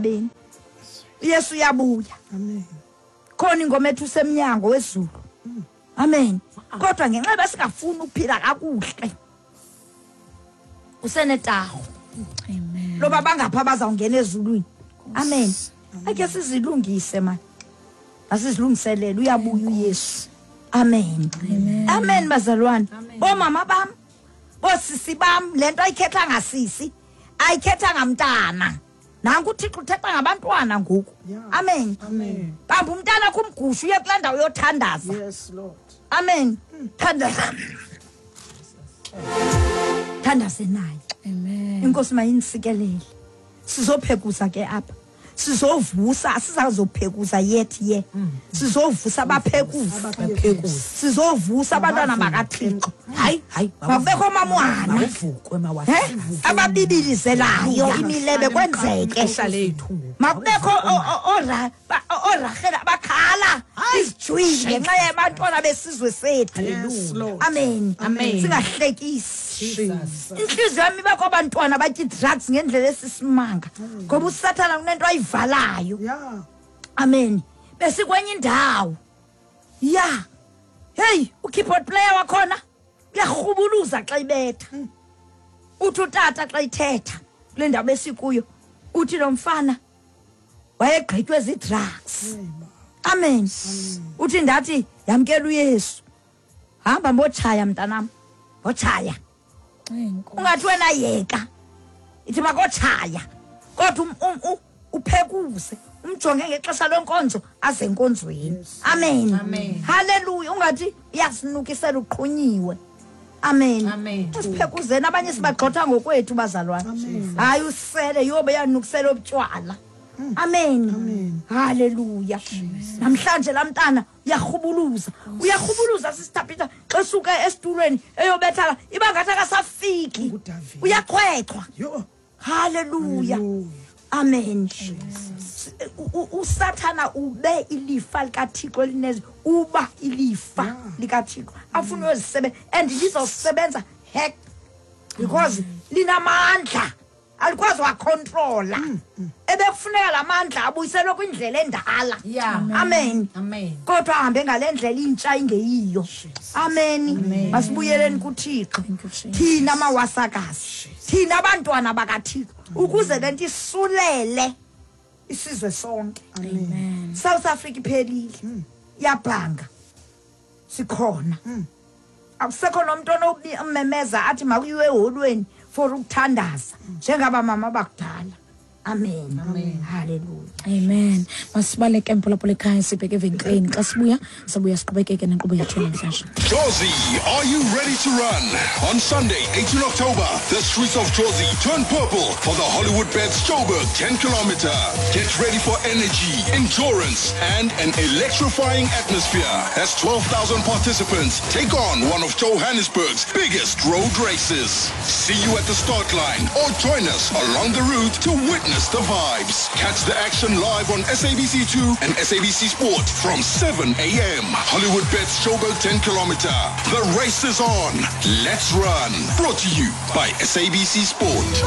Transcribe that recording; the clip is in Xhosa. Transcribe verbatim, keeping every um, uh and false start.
emhlabeni. Yesu uyabuya. Amen. Khona ingoma ethi usemnyango wezulu. Amen. Kodwa ngenxa yoba singafuni ukuphila kakuhle, usenetaho. Amen. Loba bangapha bazawungena ezulwini. Amen. Ake sizilungise man. Asizilungiselele, uyabuya uYesu. Amen. Amen bazalwane. Bomama bam, bosisi bam, lento ayikhetha ngasisi, ayikhetha ngamntana. Nanku uThixo uthetha ngabantwana ngoku. Yeah. Amen. Amen. Bamba umntana kumgushu uye kulaa ndawo yothandaza. Yes, Lord. Amen. Thandaza. Thandaze naye. Amen. Inkosi mayinisikelele. Sizophekuza ke apha. Sizovusa, asizazophekuza yet ye. Sizovusa abaphekuzi. Abaphekuzi. Sizovusa abantwana bakaThixo. Hayi, hayi. Makubekho mamwana. Makuvukwe mawasa. Eh? Ababibilizelayo imilebe kwenzeke. Ixesha lethu ngoku. Makubekho orahela bakhala izijwili ngenxa yabantwana besizwe sethu. Yes, Lord. Amen. Amen. Singahlekisi. Jesus. Inhliziyo yami iba kwabantwana batya drugs ngendlela esisimanga. Ngoba uSathana kunento ayivalayo. Yeah. Amen. Besikwenye indawo. Yeah. Hey, ukeyboard player wakhona uyarhubuluza xa ibetha. Uthi utata xa ithetha kule ndawo besikuyo, uthi lo mfana wayegqitywe zii-drugs. Amen. Uthi ndathi yamkela uYesu. Hamba mbotshaya mntanam. Mbotshaya. Enkosi. Ungathi wena yeka. Ithi makotshaya. Kodwa um, um, u- uphekuze, umjonge ngexesha lenkonzo aze enkonzweni. Amen. Amen. Hallelujah. Ungathi uyasinukisela uqhunyiwe. Amen. Amen. Siphekuzeni, abanye sibagxotha ngokwethu bazalwane. Hayi usele yobe yanukisela obutshwala. Amen. Amen. Hallelujah. Namhlanje lamntana uyarhubuluza. Uyarhubuluza Sister Peter xa suka esitulweni eyobethala iba ngathi akasafiki. NguDavid. Uyaqhwechwa. Yo. Hallelujah. Hallelujah. Amen. U- u- uSathana ube ilifa likaThixo elinezi, uba ilifa likaThixo. Afuna uyozisebe and lizosebenza heck because linamandla alikwazi wacontrola. Ebekufuneka lamandla abuyiselwe kwindlela endala. Yeah. Amen. Amen. Kodwa ahambe ngale ndlela intsha ingeyiyo. Amen. Masibuyeleni kuThixo. Thank you, Jesus. Thina mawasakazi, thina abantwana bakaThixo, ukuze lento isulele isizwe sonke. Amen. South Africa iphelile, iyabhanga, sikhona. Akusekho nomuntu onomemeza athi makuyiwe eholweni for ukuthandaza njengaba mama bakudala. Amen. Amen. Hallelujah. Amen. Masibaleke mphulaphula ekhaya sibheke evenkileni. Xa sibuya sabuya siqhubekeke nenkqubo yethu namhlanje. Jozi, are you ready to run? On Sunday, eighteenth October, the streets of Jozi turn purple for the Hollywood Bets Joburg ten kilometer. Get ready for energy, endurance, and an electrifying atmosphere as twelve thousand participants take on one of Johannesburg's biggest road races. See you at the start line or join us along the route to witness the vibes. Catch the action live on S A B C two and S A B C Sport from seven A M. Hollywood Bets Joburg ten kilometer. The race is on. Let's run. Brought to you by S A B C Sport.